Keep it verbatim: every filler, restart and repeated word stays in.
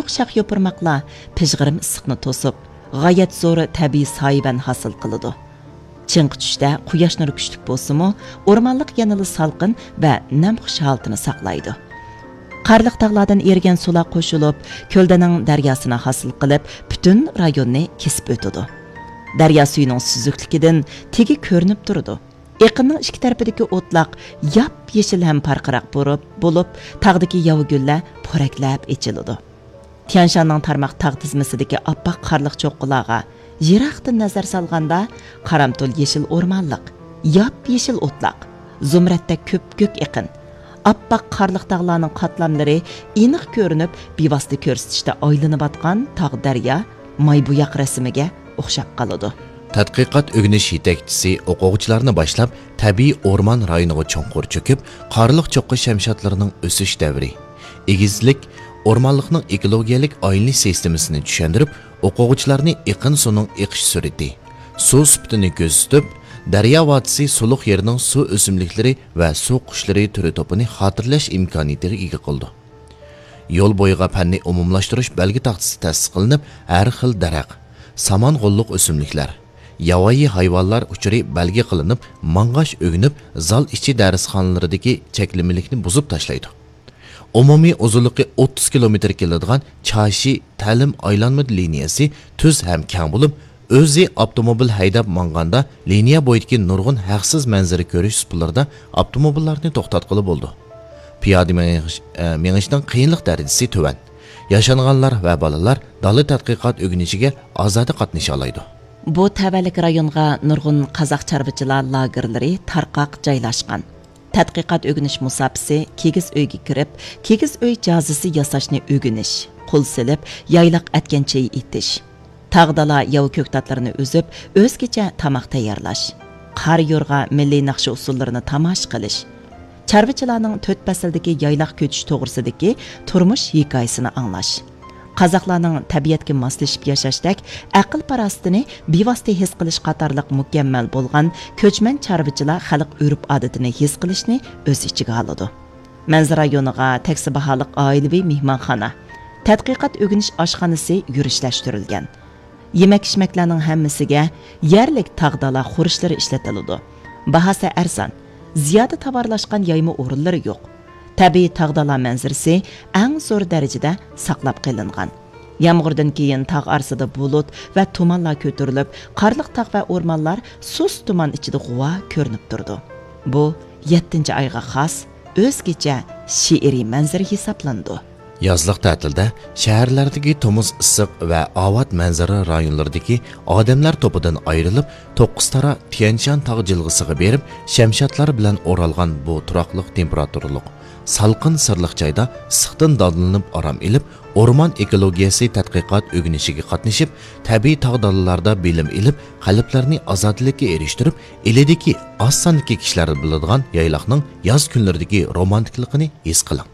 شاخ-يوپۇرماقلار پىژغىرىم ئىسسىقنى توسۇپ، غايەت زور تەبىئىي سايىۋەن ھاسىل قىلىدۇ. چىڭقى چۈشتە قۇياش نۇرى كۈچلۈك بولسىمۇ، ئورمانلىق يەنىلا سالقىن ۋە نەمخۇش ھالىتىنى ساقلايدۇ. قارلىق تاغلاردىن ئېرىگەن سۇلار قوشۇلۇپ، كۆلدەنىڭ دەرياسىنى ھاسىل قىلىپ، پۈتۈن رايوننى كېسىپ ئۆتىدۇ. دەريا سۈيىنىڭ سۈزۈكلۈكىدىن تېگى كۆرۈنۈپ تۇرىدۇ. ئېقىننىڭ ئىككى تەرىپىدىكى ئوتلاق ياپيېشىل ھەم پارقىراق بولۇپ، بولۇپ، تاغدىكى ياۋا گۈللەر پورەكلەپ ئېچىلىدۇ. تيەنشاننىڭ تارماق تاغ تىزمىسىدىكى ئاپئاق قارلىق چوققىلارغا يىراقتىن نەزەر سالغاندا، قارامتۇل يېشىل ئورمانلىق، ياپيېشىل ئوتلاق، زۇمرەتتەك كۆپكۆك ئېقىن، ئاپئاق قارلىق تاغلارنىڭ قاتلاملىرى ئېنىق كۆرۈنۈپ، بىۋاسىتە كۆرسىتىشتە ئايلىنىۋاتقان تاغ دەريا ماي بوياق رەسىمىگە ئوخشاپ قالىدۇ. تەتقىقات ئۆگىنىش يېتەكچىسى ئوقۇغۇچىلارنى باشلاپ، تەبىئىي ئورمان رايونىغا چوڭقۇر چۆكۈپ، قارلىق چوققا شەمشادلىرىنىڭ ئۆسۈش دەۋرى، ئېگىزلىك، ئورمانلىقنىڭ ئېكولوگىيەلىك ئايلىنىش سىستېمىسىنى چۈشەندۈرۈپ، ئوقۇغۇچىلارنى ئېقىن سۇنىڭ ئېقىش سۈرئىتى، سۇ سۈپىتىنى كۆزىتىپ، دەريا ۋادىسى سۇلۇق يېرىنىڭ سۇ ئۆسۈملۈكلىرى ۋە سۇ قۇشلىرى تۈرى توپىنى خاتىرىلەش ئىمكانىيىتىگە ئىگە قىلىدۇ. يول بويىغا پەننىي ئومۇملاشتۇرۇش بەلگە تاختىسى تەسىس قىلىنىپ، ھەر خىل دەرەخ، سامان غوللۇق ئۆسۈملۈكلەر، ياۋايى ھايۋانلار ئۇچۇرى بەلگە قىلىنىپ، ماڭغاچ ئۆگىنىپ، زال ئىچى دەرسخانىلىرىدىكى چەكلىمىلىكنى بۇزۇپ تاشلايدۇ. ئومۇمىي ئۇزۇنلۇقى ئوتتۇز كىلومېتىر كېلىدىغان چاشى تەلىم ئايلانما لىنىيەسى تۈز ھەم كەڭ بولۇپ، ئۆزى ئاپتوموبىل ھەيدەپ ماڭغاندا، لىنىيە بويىدىكى نۇرغۇن ھەقسىز مەنزىرە كۆرۈش سۇپىلىرىدا ئاپتوموبىللارنى توختاتقىلى بولىدۇ. پىيادە مېڭىش، ئە، مېڭىشنىڭ قىيىنلىق دەرىجىسى تۆۋەن. ياشانغانلار ۋە بالىلار دالىدا تەتقىقات ئۆگىنىشىگە ئازادە قاتنىشالايدۇ. بۇ تەۋەلىك رايونغا نۇرغۇن قازاق چارۋىچىلار لاگېرلىرى تارقاق جايلاشقان. تەتقىقات ئۆگىنىش مۇساپىسى كىگىز ئۆيگە كىرىپ، كىگىز ئۆي جازىسى ياساشنى ئۆگىنىش، قول سېلىپ يايلاق ئەتكەن چېيى ئېتىش، تاغ دالا ياۋا كۆكتاتلىرىنى ئۈزۈپ، ئۆزگىچە تاماق تەييارلاش، قار يورغا مىللىي ناخشا ئۇسسۇللىرىنى تاماشا قىلىش، چارۋىچىلارنىڭ تۆت پەسىلدىكى يايلاق كۆچۈش توغرىسىدىكى تۇرمۇش ھېكايىسىنى ئاڭلاش، قازاقلارنىڭ تەبىئەتكە ماسلىشىپ ياشاشتەك ئەقىل-پاراسىتىنى بىۋاسىتە ھېس قىلىش قاتارلىق مۇكەممەل بولغان كۆچمەن چارۋىچىلار خەلق ئۆرپ-ئادىتىنى ھېس قىلىشنى ئۆز ئىچىگە ئالىدۇ. مەنزىرە رايونىغا تەكسى باھالىق ئائىلىۋى مېھمانخانا، تەتقىقات ئۆگىنىش ئاشخانىسى يۈرۈشلەشتۈرۈلگەن. يېمەك-ئىچمەكلەرنىڭ ھەممىسىگە يەرلىك تاغ دالا خۇرۇچلىرى ئىشلىتىلىدۇ. باھاسى ئەرزان، زىيادە تاۋارلاشقان يايما ئورۇنلىرى يوق. تەبىئىي تاغ دالا مەنزىرىسى ئەڭ زور دەرىجىدە ساقلاپ قېلىنغان. يامغۇردىن كېيىن تاغ ئارىسىدا بۇلۇت ۋە تۇمانلار كۆتۈرۈلۈپ، قارلىق تاغ ۋە ئورمانلار سۇس تۇمان ئىچىدە غۇۋا كۆرۈنۈپ تۇرىدۇ. بۇ يەتتىنچى ئايغا خاس ئۆزگىچە شېئىرىي مەنزىرە ھېسابلىنىدۇ. يازلىق تەتىلدە شەھەرلەردىكى تومۇز ئىسسىق ۋە ئاۋات مەنزىرە رايونلىرىدىكى ئادەملەر توپىدىن ئايرىلىپ، توققۇز تارا تيەنشان تاغ جىلغىسىغا بېرىپ، شەمشادلار بىلەن ئورالغان بۇ تۇراقلىق تېمپېراتۇرىلىق، سالقىن سىرلىق جايدا ئىسسىقتىن دانلىنىپ ئارام ئېلىپ، ئورمان ئېكولوگىيەسى تەتقىقات ئۆگىنىشىگە قاتنىشىپ، تەبىئىي تاغ دالىلاردا بىلىم ئېلىپ، قەلبلەرنى ئازادىلىككە ئېرىشتۈرۈپ، ئىلىدىكى ئاز ساندىكى كىشىلەر بىلىدىغان يايلاقنىڭ ياز كۈنلىرىدىكى رومانتىكلىقىنى ھېس قىلىڭ.